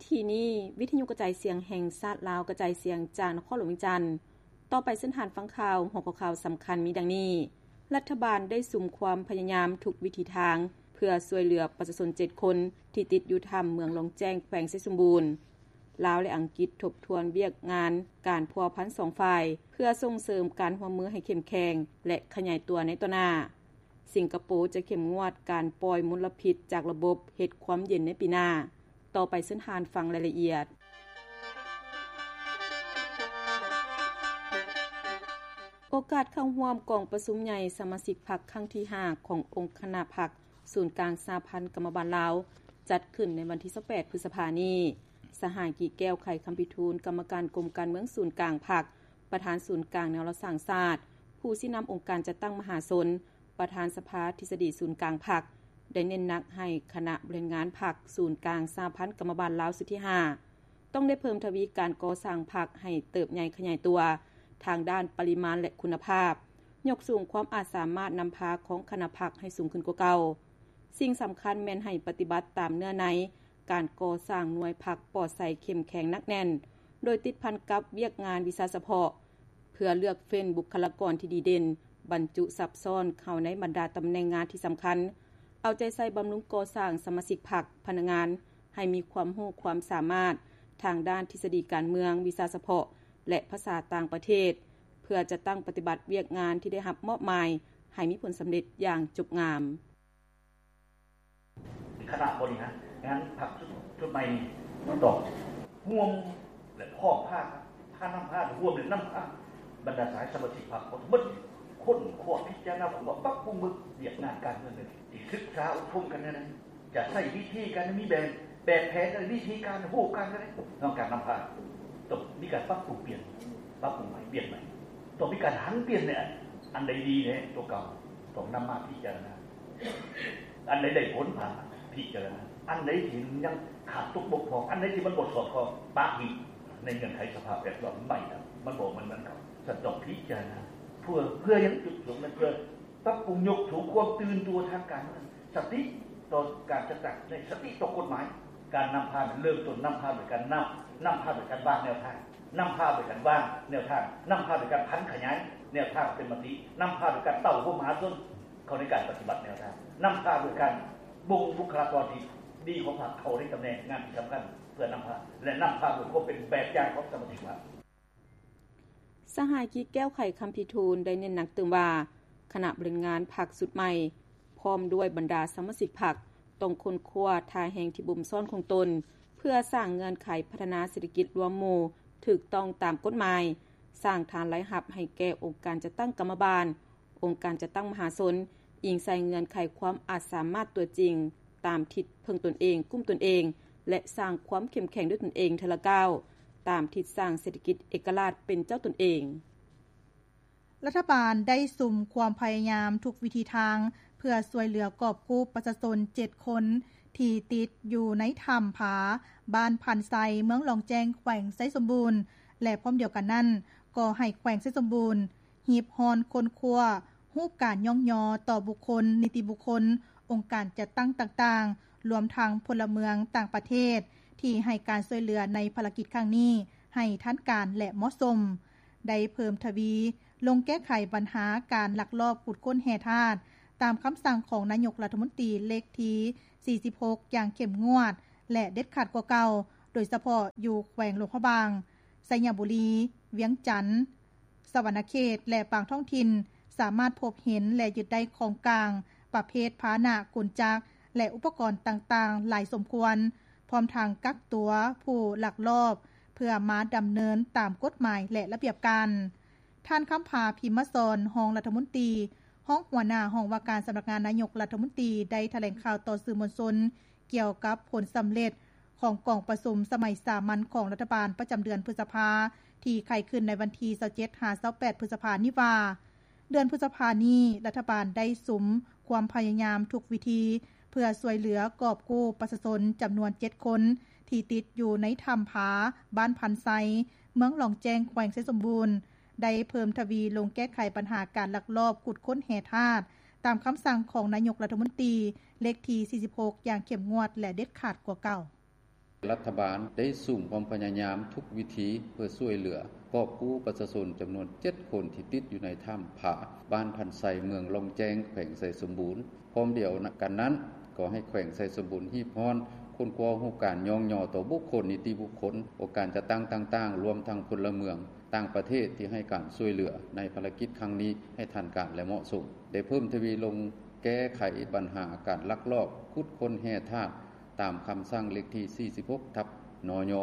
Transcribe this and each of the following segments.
ທີ່ນີ້ ວິທະຍຸກະຈາຍສຽງແຫ່ງຊາດລາວ ກະຈາຍສຽງຈາກນະຄອນຫຼວງວຽງຈັນ. ຕໍ່ໄປເຊີນທ່ານຟັງຂ່າວ. ຫົວຂໍ້ຂ່າວສຳຄັນມີດັ່ງນີ້: ລັດຖະບານໄດ້ສຸມຄວາມພະຍາຍາມທຸກວິທີທາງ ເພື່ອຊ່ວຍເຫຼືອປະຊາຊົນເຈັດຄົນ ທີ່ຕິດຢູ່ຖ້ຳເມືອງລ່ອງແຈ້ງ ແຂວງໄຊສົມບູນ. ລາວ ແລະ ອັງກິດທົບທວນວຽກງານການພົວພັນສອງຝ່າຍ ເພື່ອສົ່ງເສີມການຮ່ວມມືໃຫ້ເຂັ້ມແຂງ ແລະ ຂະຫຍາຍຕົວໃນຕໍ່ໜ້າ. ສິງກະໂປຈະເຂັ້ມງວດການປ່ອຍມົນລະພິດຈາກລະບົບເຮັດຄວາມເຢັນໃນປີໜ້າ. ຕໍ່ໄປເຊີນທ່ານຟັງລາຍລະອຽດ. ໂອກາດເຂົ້າຮ່ວມກອງປະຊຸມໃຫຍ່ສະມາຊິກພັກຄັ້ງທີຫ້າ ຂອງອົງຄະນະພັກສູນກາງສະຫະພັນກຳມະບານລາວ ຈັດຂຶ້ນໃນວັນທີຊາວແປດ ພຶດສະພານີ້. ສະຫາຍ ກີແກ້ວ ໄຂຄຳພິທູນ ກຳມະການກົມການເມືອງສູນກາງພັກ, ປະທານສູນກາງແນວລາວສ້າງຊາດ, ຜູ້ຊີ້ນຳອົງການຈັດຕັ້ງມະຫາຊົນ, ປະທານສະພາທິດສະດີສູນກາງພັກ ໄດ້ເນັ້ນໜັກໃຫ້ຄະນະບໍລິຫານງານພັກສູນກາງສະຫະພັນກຳມະບານລາວຊຸດທີຫ້າ ຕ້ອງໄດ້ເພີ່ມທະວີການກໍ່ສ້າງພັກໃຫ້ເຕີບໃຫຍ່ຂະຫຍາຍຕົວທາງດ້ານປະລິມານ ແລະ ຄຸນນະພາບ, ຍົກສູງຄວາມອາດສາມາດນຳພາຂອງຄະນະພັກໃຫ້ສູງຂຶ້ນກວ່າເກົ່າ. ສິ່ງສຳຄັນແມ່ນໃຫ້ປະຕິບັດຕາມເນື້ອໃນການກໍ່ສ້າງໜ່ວຍພັກປອດໃສເຂັ້ມແຂງໜັກແໜ້ນ, ໂດຍຕິດພັນກັບວຽກງານວິຊາສະເພາະ ເພື່ອເລືອກເຟັ້ນບຸກຄະລາກອນທີ່ດີເດັ່ນ, ບັນຈຸຊັບຊ້ອນເຂົ້າໃນບັນດາຕຳແໜ່ງງານທີ່ສຳຄັນ, ເອົາໃຈໃສ່ບຳລຸງກໍ່ສ້າງສະມາຊິກພັກ, ພະນັກງານ ໃຫ້ມີຄວາມຮູ້ຄວາມສາມາດທາງດ້ານທິດສະດີການເມືອງ, ວິຊາສະເພາະ ແລະ ພາສາຕ່າງປະເທດ, ເພື່ອຈັດຕັ້ງປະຕິບັດວຽກງານທີ່ໄດ້ຮັບມອບໝາຍໃຫ້ມີຜົນສຳເລັດຢ່າງຈົບງາມ. ຄະນະບໍລິຫານງານພັກຊຸດໃໝ່ນີ້ຕ້ອງຮ່ວມ ແລະ ພ້ອມພາ ພານຳພາ ຮ່ວມ ແລະ ນຳພາບັນດາສະຫາຍສະມາຊິກພັກທັງໝົດ ຄົ້ນຄວ້າພິຈາລະນາ ປັບປຸງເບິ່ງວຽກງານການເມືອງ ທີ່ສຶກສາອົບຮົມກັນແນວໃດ, ຈະໃຊ້ວິທີການ ມີແບບ ແບບແຜນ ແລະ ວິທີການ ຮູບການແນວໃດ ເນາະ ການນຳພາ ຕ້ອງມີການປັບປຸງປ່ຽນ ປັບປຸງໃໝ່ ປ່ຽນໃໝ່ ຕ້ອງມີການຫັນປ່ຽນແນວ ອັນໃດດີແນວ ຕົວເກົ່າ ຕ້ອງນຳມາພິຈາລະນາ. ອັນໃດໄດ້ຜົນ ພາພິຈາລະນາ, ອັນໃດທີ່ຍັງຂາດຕົກບົກຜ່ອງ, ອັນໃດທີ່ມັນບໍ່ສອດຄ່ອງ ປະຖິ້ມ ໃນເງື່ອນໄຂສະພາບແວດລ້ອມໃໝ່ ມັນບໍ່ເໝືອນເກົ່າ, ສະຕ້ອງພິຈາລະນາ. ເພື່ອ ເພື່ອຫຍັງ? ຈຸດປະສົງນັ້ນ ເພື່ອປັບປຸງຍົກສູງຄວາມຕື່ນຕົວທາງການເມືອງ, ສະຕິຕໍ່ການຈັດຕັ້ງ, ສະຕິຕໍ່ກົດໝາຍ. ການນຳພາເລີ່ມຕົ້ນນຳພາໂດຍການນຳ, ນຳພາໂດຍການວາງແນວທາງ, ນຳພາໂດຍການວາງແນວທາງ, ນຳພາໂດຍການຜັນຂະຫຍາຍແນວທາງເປັນມະຕິ, ນຳພາໂດຍການເຕົ້າໂຮມມະຫາຊົນ ເຂົ້າໃນການປະຕິບັດແນວທາງ, ນຳພາໂດຍການບົ່ງບຸກຄະລາກອນທີ່ດີຂອງພັກເຂົ້າໃນຕຳແໜ່ງງານທີ່ສຳຄັນ ເພື່ອນຳພາ ແລະ ນຳພາໂດຍຄວາມເປັນແບບຢ່າງຂອງສະມາຊິກພັກ. ສະຫາຍ ກີແກ້ວ ໄຂຄຳພິທູນ ໄດ້ເນັ້ນໜັກຕື່ມວ່າ ຄະນະບໍລິຫານງານພັກຊຸດໃໝ່ ພ້ອມດ້ວຍບັນດາສະມາຊິກພັກ ຕ້ອງຄົ້ນຄວ້າທ່າແຮງທີ່ບົ່ມຊ້ອນຂອງຕົນ ເພື່ອສ້າງເງື່ອນໄຂພັດທະນາເສດຖະກິດລວມໝູ່ຖືກຕ້ອງຕາມກົດໝາຍ, ສ້າງຖານລາຍຮັບໃຫ້ແກ່ອົງການຈັດຕັ້ງກຳມະບານ, ອົງການຈັດຕັ້ງມະຫາຊົນ, ອີງໃສ່ເງື່ອນໄຂຄວາມອາດສາມາດຕົວຈິງ, ຕາມທິດເພິ່ງຕົນເອງ, ກຸ້ມຕົນເອງ ແລະ ສ້າງຄວາມເຂັ້ມແຂງດ້ວຍຕົນເອງເທື່ອລະກ້າວ, ຕາມທິດສ້າງເສດຖະກິດເອກະລາດເປັນເຈົ້າຕົນເອງ. ລັດຖະບານໄດ້ສຸມຄວາມພະຍາຍາມທຸກວິທີທາງ ເພື່ອຊ່ວຍເຫຼືອກອບກູ້ປະຊາຊົນເຈັດຄົນ ທີ່ຕິດຢູ່ໃນຖ້ຳຜາ ບ້ານພັນໄຊ ເມືອງລ່ອງແຈ້ງ ແຂວງໄຊສົມບູນ ແລະ ພ້ອມດຽວກັນນັ້ນ ກໍໃຫ້ແຂວງໄຊສົມບູນ ຮີບຮ້ອນຄົ້ນຄວ້າຮູບການຍ້ອງຍໍຕໍ່ບຸກຄົນ, ນິຕິບຸກຄົນ, ອົງການຈັດຕັ້ງຕ່າງໆ, ລວມທັງພົນລະເມືອງຕ່າງປະເທດ ທີ່ໃຫ້ການຊ່ວຍເຫຼືອໃນພາລະກິດຄັ້ງນີ້ ໃຫ້ທັນການ ແລະ ເໝາະສົມ. ໄດ້ເພີ່ມທະວີລົງແກ້ໄຂບັນຫາການລັກລອບຂຸດຄົ້ນແຮ່ທາດ ຕາມຄຳສັ່ງຂອງນາຍົກລັດຖະມົນຕີເລກທີສີ່ສິບຫົກ ຢ່າງເຂັ້ມງວດ ແລະ ເດັດຂາດກວ່າເກົ່າ, ໂດຍສະເພາະຢູ່ແຂວງຫຼວງພະບາງ, ໄຊຍະບູລີ, ວຽງຈັນ, ສະຫວັນນະເຂດ ແລະ ບາງທ້ອງຖິ່ນ ສາມາດພົບເຫັນ ແລະ ຍຶດໄດ້ຂອງກາງປະເພດພາຫະນະ, ກົນຈັກ ແລະ ອຸປະກອນຕ່າງໆຫຼາຍສົມຄວນ, ພ້ອມທັງກັກຕົວຜູ້ລັກລອບ ເພື່ອມາດຳເນີນຕາມກົດໝາຍ ແລະ ລະບຽບການ. ທ່ານ ຄຳຜາ ພິມມະສອນ ຮອງລັດຖະມົນຕີ, ຮອງຫົວໜ້າຫ້ອງວ່າການສຳນັກງານນາຍົກລັດຖະມົນຕີ ໄດ້ຖະແຫຼງຂ່າວຕໍ່ສື່ມວນຊົນ ກ່ຽວກັບຜົນສຳເລັດຂອງກອງປະຊຸມສະໄໝສາມັນຂອງລັດຖະບານປະຈຳເດືອນພຶດສະພາ ທີ່ໄຂຂຶ້ນໃນວັນທີຊາວເຈັດ ຫາ ຊາວແປດ ພຶດສະພານີ້ວ່າ, ເດືອນພຶດສະພານີ້ ລັດຖະບານໄດ້ສຸມຄວາມພະຍາຍາມທຸກວິທີ ເພື່ອຊ່ວຍເຫຼືອກອບກູ້ປະຊາຊົນຈຳນວນເຈັດຄົນ ທີ່ຕິດຢູ່ໃນຖ້ຳຜາ ບ້ານພັນໄຊ ເມືອງລ່ອງແຈ້ງ ແຂວງໄຊສົມບູນ, ໄດ້ເພີ່ມທະວີລົງແກ້ໄຂບັນຫາການລັກລອບຂຸດຄົ້ນແຮ່ທາດ ຕາມຄຳສັ່ງຂອງນາຍົກລັດຖະມົນຕີເລກທີສີ່ສິບຫົກ ຢ່າງເຂັ້ມງວດ ແລະ ເດັດຂາດກວ່າເກົ່າ. ລັດຖະບານໄດ້ສຸມຄວາມພະຍາຍາມທຸກວິທີເພື່ອຊ່ວຍເຫຼືອກອບກູ້ປະຊາຊົນຈຳນວນເຈັດຄົນທີ່ຕິດຢູ່ໃນຖ້ຳຜາບ້ານພັນໄຊ ເມືອງລ່ອງແຈ້ງ ແຂວງໄຊສົມບູນ. ພ້ອມດຽວກັນນັ້ນ ກໍໃຫ້ແຂວງໄຊສົມບູນຮີບຮ້ອນຄົ້ນຄວ້າຮູບການຍ້ອງຍໍຕໍ່ບຸກຄົນ, ນິຕິບຸກຄົນ, ອົງການຈັດຕັ້ງຕ່າງໆ ລວມທັງພົນລະເມືອງຕ່າງປະເທດທີ່ໃຫ້ການຊ່ວຍເຫຼືອໃນພາລະກິດຄັ້ງນີ້ໃຫ້ທັນການ ແລະ ເໝາະສົມ. ໄດ້ເພີ່ມທະວີລົງແກ້ໄຂບັນຫາການລັກລອບຂຸດຄົ້ນແຮ່ທາດ ຕາມຄຳສັ່ງເລກທີສີ່ສິບຫົກ ທັບ ນຍ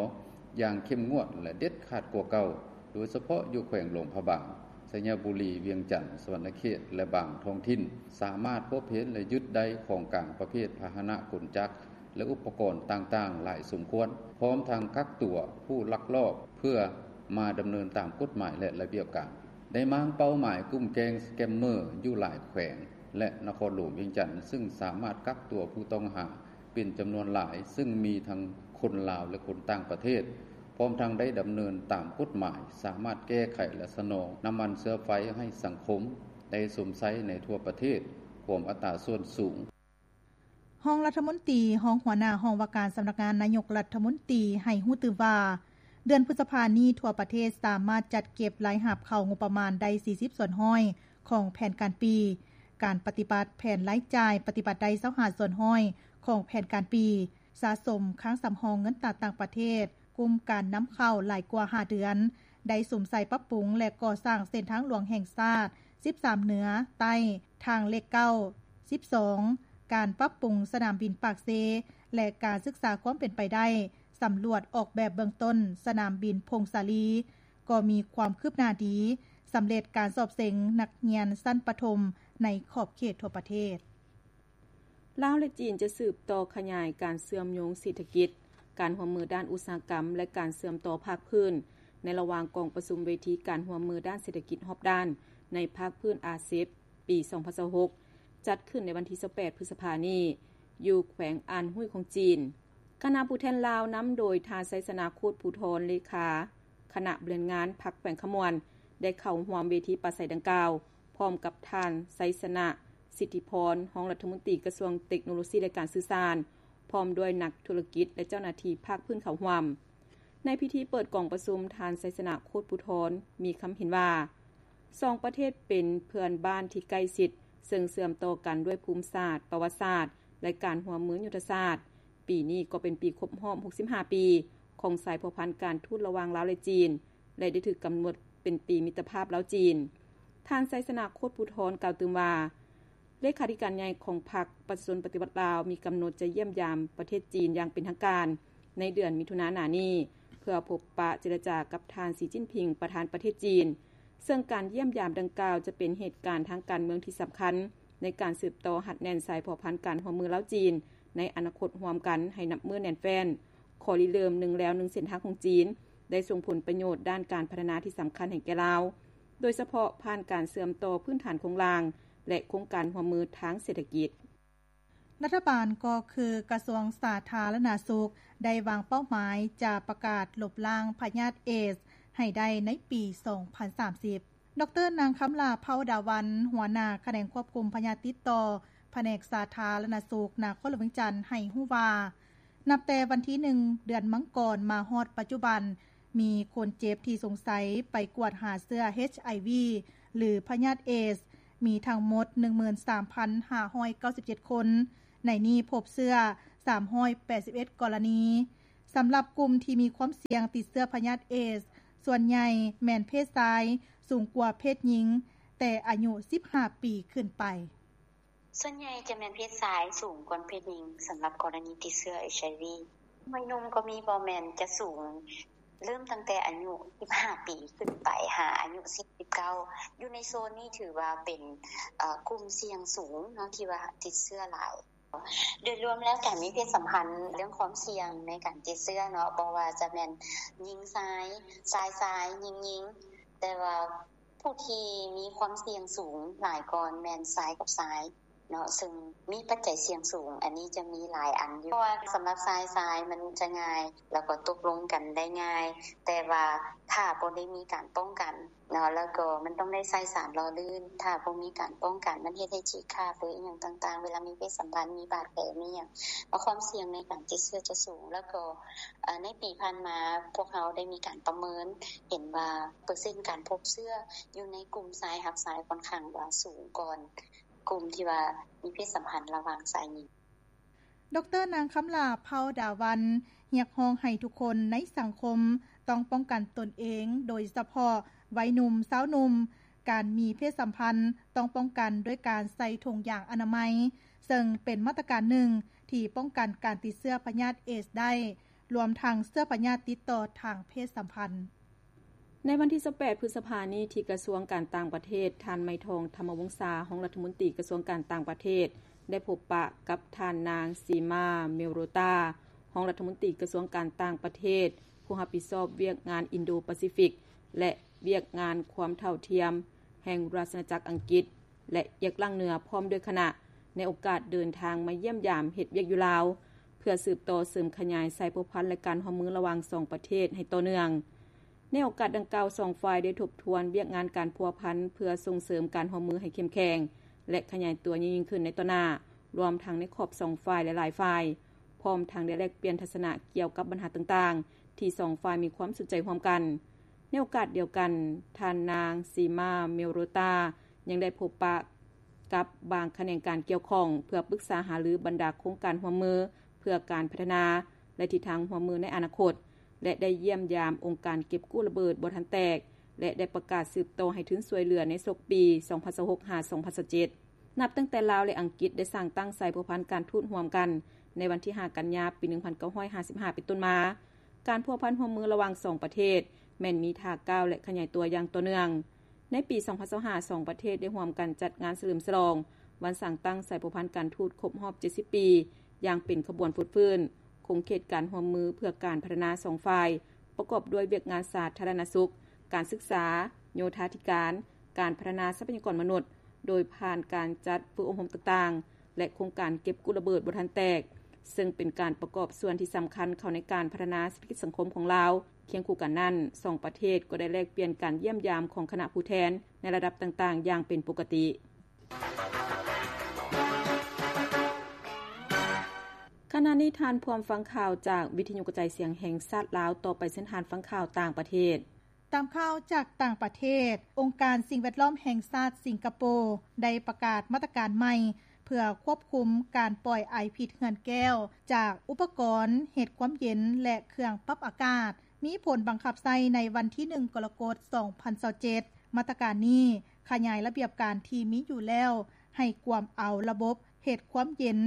ຢ່າງເຂັ້ມງວດ ແລະ ເດັດຂາດກວ່າເກົ່າ, ໂດຍສະເພາະຢູ່ແຂວງຫຼວງພະບາງ, ໄຊຍະບູລີ, ວຽງຈັນ, ສະຫວັນນະເຂດ ແລະ ບາງທ້ອງຖິ່ນ ສາມາດພົບເຫັນ ແລະ ຍຶດໄດ້ຂອງກາງປະເພດພາຫະນະ, ກົນຈັກ ແລະ ອຸປະກອນຕ່າງໆຫຼາຍສົມຄວນ, ພ້ອມທັງກັກຕົວຜູ້ລັກລອບເພື່ອມາດຳເນີນຕາມກົດໝາຍ ແລະ ລະບຽບການ. ໄດ້ມ້າງເປົ້າໝາຍກຸ່ມແກ້ງສະແກມເມີຢູ່ຫຼາຍແຂວງ ແລະ ນະຄອນຫຼວງວຽງຈັນ, ຊຶ່ງສາມາດກັກຕົວຜູ້ຕ້ອງຫາ ເປັນຈຳນວນຫຼາຍ, ຊຶ່ງມີທັງຄົນລາວ ແລະ ຄົນຕ່າງປະເທດ, ພ້ອມທັງໄດ້ດຳເນີນຕາມກົດໝາຍ, ສາມາດແກ້ໄຂ ແລະ ສະໜອງນ້ຳມັນເຊື້ອໄຟໃຫ້ສັງຄົມໄດ້ຊົມໃຊ້ໃນທົ່ວປະເທດ ຄວາມອັດຕາສ່ວນສູງ. ຮອງລັດຖະມົນຕີ, ຮອງຫົວໜ້າຫ້ອງວ່າການສຳນັກງານນາຍົກລັດຖະມົນຕີ ໃຫ້ຮູ້ຕື່ມວ່າ ເດືອນພຶດສະພານີ້ ທົ່ວປະເທດສາມາດຈັດເກັບລາຍຮັບເຂົ້າງົບປະມານໄດ້ສີ່ສິບສ່ວນຮ້ອຍຂອງແຜນການປີ, ການປະຕິບັດແຜນລາຍຈ່າຍປະຕິບັດໄດ້ຊາວຫ້າສ່ວນຮ້ອຍຂອງແຜນການປີ, ສະສົມຄັງສຳຮອງເງິນຕາຕ່າງປະເທດ ກຸ່ມການນຳເຂົ້າຫຼາຍກວ່າຫ້າເດືອນ, ໄດ້ສຸມໃສ່ປັບປຸງ ແລະ ກໍ່ສ້າງເສັ້ນທາງຫຼວງແຫ່ງຊາດສິບສາມເໜືອໃຕ້ ທາງເລກເກົ້າ ສິບສອງ ການປັບປຸງສະໜາມບິນປາກເຊ ແລະ ການສຶກສາຄວາມເປັນໄປໄດ້ ສຳຫຼວດອອກແບບເບື້ອງຕົ້ນສະໜາມບິນຜົ້ງສາລີ ກໍມີຄວາມຄືບໜ້າດີ, ສຳເລັດການສອບເສັງນັກຮຽນຊັ້ນປະຖົມໃນຂອບເຂດທົ່ວປະເທດ. ລາວ ແລະ ຈີນ ຈະສືບຕໍ່ຂະຫຍາຍການເຊື່ອມໂຍງເສດຖະກິດ, ການຮ່ວມມືດ້ານອຸດສາຫະກຳ ແລະ ການເຊື່ອມຕໍ່ພາກພື້ນ ໃນລະຫວ່າງກອງປະຊຸມເວທີການຮ່ວມມືດ້ານເສດຖະກິດຮອບດ້ານໃນພາກພື້ນ ອາເຊັບ ປີສອງພັນຊາວຫົກ ຈັດຂຶ້ນໃນວັນທີຊາວແປດ ພຶດສະພານີ້ ຢູ່ແຂວງອານຮຸ້ຍຂອງຈີນ. ຄະນະຜູ້ແທນລາວນຳໂດຍທ່ານ ໄຊຊະນະ ໂຄດພູທອນ ເລຂາຄະນະບໍລິຫານງານພັກແຂວງຄຳມ່ວນ ໄດ້ເຂົ້າຮ່ວມເວທີປາໄສດັ່ງກ່າວ ພ້ອມກັບທ່ານ ໄຊຊະນະ ສິດທິພອນ ຮອງລັດຖະມົນຕີກະຊວງເຕັກໂນໂລຊີ ແລະ ການສື່ສານ, ພ້ອມດ້ວຍນັກທຸລະກິດ ແລະ ເຈົ້າໜ້າທີ່ພາກພື້ນເຂົ້າຮ່ວມ. ໃນພິທີເປີດກອງປະຊຸມ, ທ່ານ ໄຊຊະນະ ໂຄດພູທອນ ມີຄຳເຫັນວ່າ ສອງປະເທດເປັນເພື່ອນບ້ານທີ່ໃກ້ຊິດ, ເຊິ່ງເຊື່ອມຕໍ່ກັນດ້ວຍພູມສາດ, ປະຫວັດສາດ ແລະ ການຮ່ວມມືຍຸດທະສາດ. ປີນີ້ກໍເປັນປີຄົບຮອບຫົກສິບຫ້າປີຂອງສາຍພົວພັນການທູດລະຫວ່າງລາວ ແລະ ຈີນ ແລະ ໄດ້ຖືກກຳນົດເປັນປີມິດຕະພາບລາວ-ຈີນ. ທ່ານ ໄຊຊະນະ ໂຄດພູທອນ ກ່າວຕື່ມວ່າ ເລຂາທິການໃຫຍ່ຂອງພັກປະຊາຊົນປະຕິວັດລາວ ມີກຳນົດຈະຢ້ຽມຢາມປະເທດຈີນຢ່າງເປັນທາງການໃນເດືອນມິຖຸນາໜ້ານີ້ ເພື່ອພົບປະເຈລະຈາກັບທ່ານ ສີ ຈິ້ນຜິງ ປະທານປະເທດຈີນ, ເຊິ່ງການຢ້ຽມຢາມດັ່ງກ່າວຈະເປັນເຫດການທາງການເມືອງທີ່ສຳຄັນໃນການສືບຕໍ່ຮັດແໜ້ນສາຍພົວພັນການຮ່ວມມືລາວ-ຈີນໃນອະນາຄົດຮ່ວມກັນໃຫ້ນັບມື້ແໜ້ນແຟ້ນ. ຂໍ້ລິເລີ່ມໜຶ່ງແລວໜຶ່ງເສັ້ນທາງຂອງຈີນ ໄດ້ສົ່ງຜົນປະໂຫຍດດ້ານການພັດທະນາທີ່ສຳຄັນໃຫ້ແກ່ລາວ, ໂດຍສະເພາະຜ່ານການເຊື່ອມຕໍ່ພື້ນຖານໂຄງລ່າງ ແລະ ໂຄງການຮ່ວມມືທາງເສດຖະກິດ. ລັດຖະບານກໍຄືກະຊວງສາທາລະນະສຸກ ໄດ້ວາງເປົ້າໝາຍຈະປະກາດລົບລ້າງພະຍາດເອດສ໌ໃຫ້ໄດ້ໃນປີສອງພັນສາມສິບ. ດອກເຕີ ນາງ ຄຳຫຼ້າ ເພົາດາວັນ ຫົວໜ້າຂະແໜງຄວບຄຸມພະຍາດຕິດຕໍ່ ພະແນກສາທາລະນະສຸກ ນະຄອນຫຼວງວຽງຈັນ ໃຫ້ຮູ້ວ່າ ນັບແຕ່ວັນທີໜຶ່ງ ເດືອນມັງກອນ ມາຮອດປັດຈຸບັນ ມີຄົນເຈັບທີ່ສົງໄສໄປກວດຫາເຊື້ອ ເອັດໄອວີ ຫຼື ພະຍາດເອດສ໌ ມີທັງໝົດ ໜຶ່ງໝື່ນສາມພັນຫ້າຮ້ອຍເກົ້າສິບເຈັດຄົນ, ໃນນີ້ພົບເຊື້ອ ສາມຮ້ອຍແປດສິບເອັດກໍລະນີ. ສຳລັບກຸ່ມທີ່ມີຄວາມສ່ຽງຕິດເຊື້ອພະຍາດເອດສ໌ ສ່ວນໃຫຍ່ແມ່ນເພດຊາຍ ສູງກວ່າເພດຍິງ ແຕ່ອາຍຸສິບຫ້າປີຂຶ້ນໄປ. ສ່ວນໃຫຍ່ຈະແມ່ນເພດຊາຍສູງກວ່າເພດຍິງ ສຳລັບກໍລະນີຕິດເຊື້ອ ເອັດໄອວີ. ຫຸ່ມໜຸ່ມກໍມີ ບໍ່ແມ່ນຈະສູງ ເລີ່ມຕັ້ງແຕ່ອາຍຸສິບຫ້າປີຂຶ້ນໄປ ຫາອາຍຸສິບ ສິບເກົ້າ ຢູ່ໃນໂຊນນີ້ຖືວ່າເປັນ ເອີ ກຸ່ມສ່ຽງສູງເນາະ ທີ່ວ່າຕິດເຊື້ອຫຼາຍ. ໂດຍລວມແລ້ວ ການມີເພດສຳພັນເລື່ອງຄວາມສ່ຽງໃນການຕິດເຊື້ອເນາະ ບໍ່ວ່າຈະແມ່ນຍິງຊາຍ, ຊາຍຊາຍ, ຍິງຍິງ, ແຕ່ວ່າ ຜູ້ທີ່ມີຄວາມສ່ຽງສູງຫຼາຍກ່ອນແມ່ນຊາຍກັບຊາຍ. ເນາະ ເຊິ່ງມີປັດໄຈສ່ຽງສູງ ອັນນີ້ຈະມີຫຼາຍອັນຢູ່ ເພາະວ່າສຳລັບຊາຍຊາຍມັນຈະງ່າຍ ແລ້ວກໍຕົກລົງກັນໄດ້ງ່າຍ ແຕ່ວ່າຖ້າບໍ່ໄດ້ມີການປ້ອງກັນເນາະ ແລ້ວກໍມັນຕ້ອງໄດ້ໃຊ້ສານຫຼໍ່ລື່ນ ຖ້າບໍ່ມີການປ້ອງກັນ ມັນເຮັດໃຫ້ຈີກຂາດ ຫຼື ອີ່ຫຍັງຕ່າງໆ ເວລາມີເພດສຳພັນ ມີບາດແຜ ມີຫຍັງ ຄວາມສ່ຽງໃນການຕິດເຊື້ອຈະສູງ ແລ້ວກໍ ເອີ ໃນປີຜ່ານມາ ພວກເຮົາໄດ້ມີການປະເມີນເຫັນວ່າ ເປີເຊັນການພົບເຊື້ອຢູ່ໃນກຸ່ມຊາຍຮັກຊາຍຂ້ອນຂ້າງວ່າສູງກ່ອນ ກຸ່ມທີ່ວ່າມີເພດສຳພັນລະຫວ່າງຊາຍຍິງ. ດຣ. ນາງ ຄຳຫຼ້າ ເຜົ່າດາວັນ ຮຽກຮ້ອງໃຫ້ທຸກຄົນໃນສັງຄົມຕ້ອງປ້ອງກັນຕົນເອງ, ໂດຍສະເພາະໄວໜຸ່ມ, ຊາວໜຸ່ມ, ການມີເພດສຳພັນຕ້ອງປ້ອງກັນດ້ວຍການໃສ່ຖົງຢາງອະນາໄມ, ເຊິ່ງເປັນມາດຕະການໜຶ່ງທີ່ປ້ອງກັນການຕິດເຊື້ອພະຍາດເອດສໄດ້, ລວມທັງເຊື້ອພະຍາດຕິດຕໍ່ທາງເພດສຳພັນ. ໃນວັນທີຊາວແປດ ພຶດສະພານີ້ ທີ່ກະຊວງການຕ່າງປະເທດ, ທ່ານ ໄມທອງ ທຳມະວົງສາ ຮອງລັດຖະມົນຕີກະຊວງການຕ່າງປະເທດ ໄດ້ພົບປະກັບທ່ານນາງ ຊີມາ ເມໂຣຕາ ຮອງລັດຖະມົນຕີກະຊວງການຕ່າງປະເທດ ຜູ້ຮັບຜິດຊອບວຽກງານອິນໂດປາຊີຟິກ ແລະ ວຽກງານຄວາມເທົ່າທຽມແຫ່ງລາຊະອານາຈັກອັງກິດ ແລະ ອຽກລັງເໜືອ ພ້ອມດ້ວຍຄະນະ ໃນໂອກາດເດີນທາງມາຢ້ຽມຢາມເຮັດວຽກຢູ່ລາວ ເພື່ອສືບຕໍ່ເສີມຂະຫຍາຍສາຍພົວພັນ ແລະ ການຮ່ວມມືລະຫວ່າງສອງປະເທດໃຫ້ຕໍ່ເນື່ອງ. ໃນໂອກາດດັ່ງກ່າວ, ສອງຝ່າຍໄດ້ທົບທວນວຽກງານການພົວພັນ ເພື່ອສົ່ງເສີມການຮ່ວມມືໃຫ້ເຂັ້ມແຂງ ແລະ ຂະຫຍາຍຕົວຍິ່ງໆຂຶ້ນໃນຕໍ່ໜ້າ, ລວມທັງໃນຂອບສອງຝ່າຍ ແລະ ຫຼາຍຝ່າຍ, ພ້ອມທັງໄດ້ແລກປ່ຽນທັດສະນະກ່ຽວກັບບັນຫາຕ່າງໆ ທີ່ສອງຝ່າຍມີຄວາມສົນໃຈຮ່ວມກັນ. ໃນໂອກາດດຽວກັນ, ທ່ານນາງ ຊີມາ ເມໂຣຕາ ຍັງໄດ້ພົບປະກັບບາງຂະແໜງການກ່ຽວຂ້ອງ ເພື່ອປຶກສາຫາລືບັນດາໂຄງການຮ່ວມມືເພື່ອການພັດທະນາ ແລະ ທິດທາງຮ່ວມມືໃນອະນາຄົດ ແລະ ໄດ້ຢ້ຽມຢາມອົງການເກັບກູ້ລະເບີດບໍ່ທັນແຕກ ແລະ ໄດ້ປະກາດສືບຕໍ່ໃຫ້ທຶນຊ່ວຍເຫຼືອໃນສົກປີສອງພັນຊາວຫົກ ຫາ ສອງພັນຊາວເຈັດ. ນັບຕັ້ງແຕ່ລາວ ແລະ ອັງກິດໄດ້ສ້າງຕັ້ງສາຍພົວພັນການທູດຮ່ວມກັນໃນວັນທີຫ້າ ກັນຍາ ປີໜຶ່ງພັນເກົ້າຮ້ອຍຫ້າສິບຫ້າ ເປັນຕົ້ນມາ, ການພົວພັນຮ່ວມມືລະຫວ່າງສອງປະເທດແມ່ນມີທ່າກ້າວ ແລະ ຂະຫຍາຍຕົວຢ່າງຕໍ່ເນື່ອງ. ໃນປີສອງພັນຊາວຫ້າ ສອງປະເທດໄດ້ຮ່ວມກັນຈັດງານສະເຫຼີມສະຫຼອງວັນສ້າງຕັ້ງສາຍພົວພັນການທູດຄົບຮອບເຈັດສິບປີ ຢ່າງເປັນຂະບວນຟົດຟື້ນຂົງເຂດການຮ່ວມມືເພື່ອການພັດທະນາສອງຝ່າຍ ປະກອບດ້ວຍວຽກງານສາທາລະນະສຸກ, ການສຶກສາ, ໂຍທາທິການ, ການພັດທະນາຊັບພະຍາກອນມະນຸດ ໂດຍຜ່ານການຈັດຝຶກອົບຮົມຕ່າງໆ ແລະ ໂຄງການເກັບກູ້ລະເບີດບໍ່ທັນແຕກ, ເຊິ່ງເປັນການປະກອບສ່ວນທີ່ສຳຄັນເຂົ້າໃນການພັດທະນາເສດຖະກິດສັງຄົມຂອງລາວ. ຄຽງຄູ່ກັນນັ້ນ, ສອງປະເທດກໍໄດ້ແລກປ່ຽນການຢ້ຽມຢາມຂອງຄະນະຜູ້ແທນໃນລະດັບຕ່າງໆຢ່າງເປັນປົກກະຕິ. ຂະນະນີ້ທ່ານພວມຟັງຂ່າວຈາກວິທະຍຸກະຈາຍສຽງແຫ່ງຊາດລາວ, ຕໍ່ໄປເຊີນທ່ານຟັງຂ່າວຕ່າງປະເທດ. ຕາມຂ່າວຈາກຕ່າງປະເທດ, ອົງການສິ່ງແວດລ້ອມແຫ່ງຊາດສິງກະໂປ ໄດ້ປະກາດມາດຕະການໃໝ່ ເພື່ອຄວບຄຸມການປ່ອຍໄອພິດເຮືອນແກ້ວ ຈາກອຸປະກອນເຮັດຄວາມເຢັນ ແລະ ເຄື່ອງປັບອາກາດ, ມີຜົນບັງຄັບໃຊ້ໃນວັນທີໜຶ່ງ ກໍລະກົດ ສອງພັນຊາວເຈັດ. ມາດຕະການນີ້ຂະຫຍາຍລະບຽບການທີ່ມີຢູ່ແລ້ວ ໃຫ້ກວມເອົາລະບົບເຮັດຄວາມເຢັນ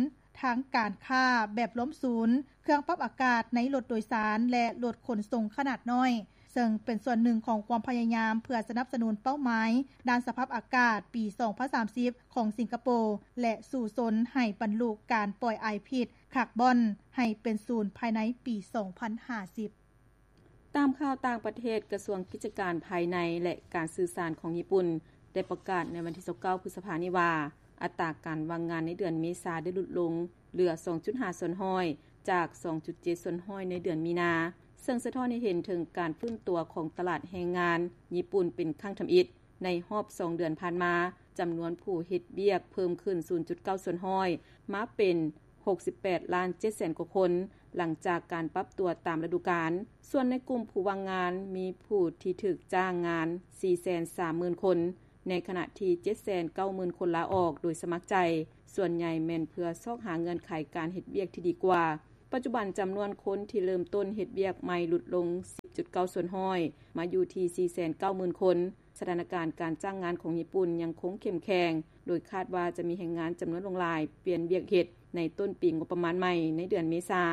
ທາງການຄ້າແບບລວມສູນ, ເຄື່ອງປັບອາກາດໃນລົດໂດຍສານ ແລະ ລົດຂົນສົ່ງຂະໜາດນ້ອຍ, ເຊິ່ງເປັນສ່ວນໜຶ່ງຂອງຄວາມພະຍາຍາມເພື່ອສະໜັບສະໜູນເປົ້າໝາຍດ້ານສະພາບອາກາດປີສອງພັນສາມສິບຂອງສິງກະໂປ ແລະ ສູ້ຊົນໃຫ້ບັນລຸການປ່ອຍໄອພິດຄາບອນໃຫ້ເປັນສູນພາຍໃນປີສອງພັນຫ້າສິບ. ຕາມຂ່າວຕ່າງປະເທດ, ກະຊວງກິດຈະການພາຍໃນ ແລະ ການສື່ສານຂອງຍີ່ປຸ່ນ ໄດ້ປະກາດໃນວັນທີຊາວເກົ້າ ພຶດສະພານີ້ວ່າ ອັດຕາການວ່າງງານໃນເດືອນເມສາໄດ້ຫຼຸດລົງເຫຼືອສອງຈຸດຫ້າສ່ວນຮ້ອຍ ຈາກສອງຈຸດເຈັດສ່ວນຮ້ອຍໃນເດືອນມີນາ, ເຊິ່ງສະທ້ອນໃຫ້ເຫັນເຖິງການຟື້ນຕົວຂອງຕະຫຼາດແຮງງານຍີ່ປຸ່ນເປັນຄັ້ງທຳອິດ. ໃນຮອບສອງເດືອນຜ່ານມາ, ຈຳນວນຜູ້ເຮັດວຽກເພີ່ມຂຶ້ນສູນຈຸດເກົ້າສ່ວນຮ້ອຍ ມາເປັນຫົກສິບແປດລ້ານເຈັດແສນກວ່າຄົນ, ຫຼັງຈາກການປັບຕົວຕາມລະດູການ. ສ່ວນໃນກຸ່ມຜູ້ວ່າງງານ, ມີຜູ້ທີ່ຖືກຈ້າງງານສີ່ແສນສາມໝື່ນຄົນ, ໃນຂະນະທີ່ເຈັດແສນເກົ້າໝື່ນຄົນລາອອກໂດຍສະໝັກໃຈ, ສ່ວນໃຫຍ່ແມ່ນເພື່ອຊອກຫາເງື່ອນໄຂການເຮັດວຽກທີ່ດີກວ່າ. ປັດຈຸບັນຈຳນວນຄົນທີ່ເລີ່ມຕົ້ນເຮັດວຽກໃໝ່ຫຼຸດລົງສິບຈຸດເກົ້າສ່ວນຮ້ອຍ ມາຢູ່ທີ່ສີ່ແສນເກົ້າໝື່ນຄົນ. ສະຖານະການການຈ້າງງານຂອງຍີ່ປຸ່ນຍັງຄົງເຂັ້ມແຂງ, ໂດຍຄາດວ່າຈະມີແຮງງານຈຳນວນຫຼວງຫຼາຍປ່ຽນວຽກເຮັດໃນຕົ້ນປີງົບປະມານໃໝ່ໃນເດືອນເມສາ.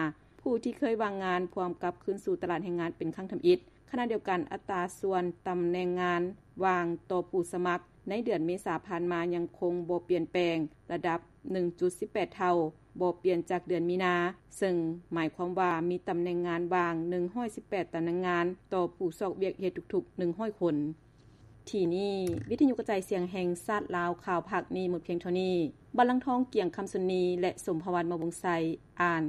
ຜູ້ທີ່ເຄີຍວ່າງງານພວມກັບຄືນສູ່ຕະຫຼາດແຮງງານເປັນຄັ້ງທຳອິດ. ຂະນະດຽວກັນ, ອັດຕາສ່ວນຕຳແໜ່ງງານວ່າງຕໍ່ຜູ້ສະໝັກໃນເດືອນເມສາຜ່ານມາຍັງຄົງບໍ່ປ່ຽນແປງ, ລະດັບໜຶ່ງຈຸດສິບແປດເທົ່າ, ບໍ່ປ່ຽນຈາກເດືອນມີນາ, ເຊິ່ງໝາຍຄວາມວ່າມີຕຳແໜ່ງງານວ່າງໜຶ່ງຮ້ອຍສິບແປດຕຳແໜ່ງງານຕໍ່ຜູ້ຊອກວຽກເຮັດທຸກໆໜຶ່ງຮ້ອຍຄົນ. ທີ່ນີ້ ວິທະຍຸກະຈາຍສຽງແຫ່ງຊາດລາວ ຂ່າວພາກນີ້ໝົດພຽງເທົ່ານີ້. ບັນລັງທອງ ກຽງຄຳສຸນນີ ແລະ ສົມພະວັນ ມະວົງໄຊ ອ່ານ.